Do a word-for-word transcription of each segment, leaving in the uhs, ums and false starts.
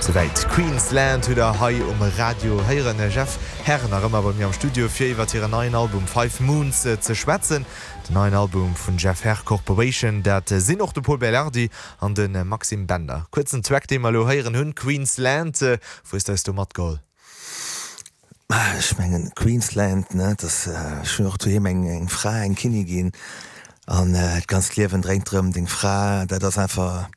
Souwäit Queensland hutt der hei um Radio héieren. Jeff Herr nach ëmmer bei mir am Studio fir iwwer hiren neien Album Five Moons äh, ze schwätzen. Den neien Album vun Jeff Herr Corporation, dat äh, sinn och de Pol Belardi an den äh, Maxime Bender. Kuerzen Track, dee mer lo héieren hunn, Queensland, äh, wou hues du matgeholl? Ah, ech mengen Queensland ne dat äh, schonn och doheem eng eng Fra eng Kinnigin an äh, d'ganzt Liewen dréint drëm deng Fra dat ass einfach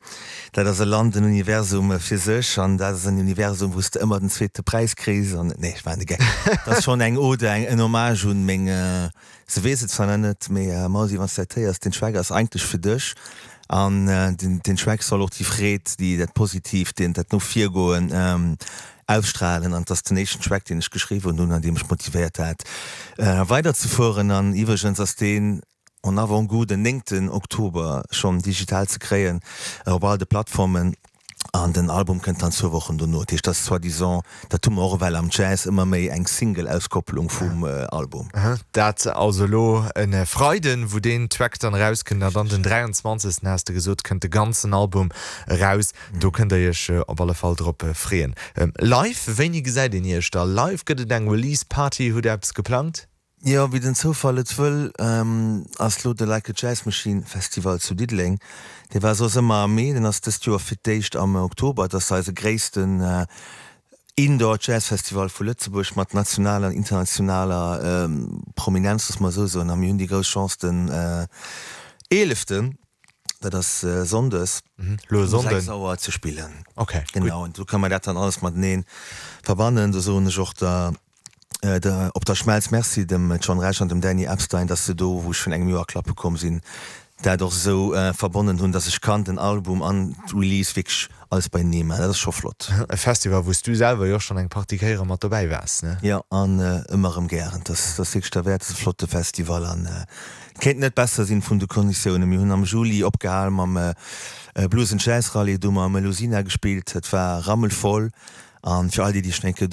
dat ass e Land en Universum fir sech an dat ass en Universum wou s de ëmmer den zweete Präis kriss an nee ech war de Geck dat ass schonn eng Ode eng en Hommage un meng äh, se weess et zwar net mee äh, Mausi wann s de dat héiers den Track ass eigentlech fir dech an äh, den, den Track soll och déi Freed déi dat positiv den dat no vir goen ähm, ausstrahlen an dat ass den éischten Track deen ech geschriwwen hunn an dee mech motivéiert huet äh, weiderzefueren an iwwregens ass deen en avant-goût den néngten Oktober schonn digital ze kréien äh, op all de Plattformen an den Album kënnt dann zwou Wochen dono dat ass soi-disant dat hu mer och well am Jazz ëmmer méi eng Single Auskopplung vum äh, Album Aha, dat also lo en Freiden wou den Track dann rauskënnt dann den dräianzwanzegsten hues de gesot kënnt de ganzen Album raus do kënnt der iech äh, op alle Fall drop äh, freeën ähm, live wéini gesäit een iech da live gëtt et eng Release Party hutt der eppes geplangt Jo wéi den Zoufall et wëll ähm, ass lo de Like a Jazz Machine Festival zu Diddeleng. Dee war soss ëmmer am Mee, den ass dëst Joer fir d'éischt am Oktober, dat ass eise gréissten äh, Indoor Jazz Festival vu Lëtzebuerg mat nationaler an internationaler ähm, Prominenz looss mer sou soen. A mir hunn déi grouss Chance den äh, eeleften, dat ass äh, Sonndes mhm. Lo um Sonnden sechs Auer ze spillen. okay Genau an do kann man dat dann alles matenee verbannen, do soen ech och der äh, der, op der Schmelz Merci dem John Rech an dem Danny Epstein, dass se do wou ech virun engem Joer klappe komm sinn, dat och sou äh, verbonnen hunn, dass ech kann den Album an Release wierklech alles beienee maachen. Dat ass scho flott. E Festival wou s du selwer jo schonn eng Partie Kéiere mat dobäi waars ne Ja an äh, ëmmer erëm gären. Dat dat ass wierklech derwäert, dat ass e flotte Festival an äh, kéint net besser sinn vun de Konditiounen. Mir hunn am Juli opgehal mam äh, äh, Blues and Jazz Rallye do hu mer am Melusina gespillt, et war rammelvoll an fir all déi déi schonn eng Kéier do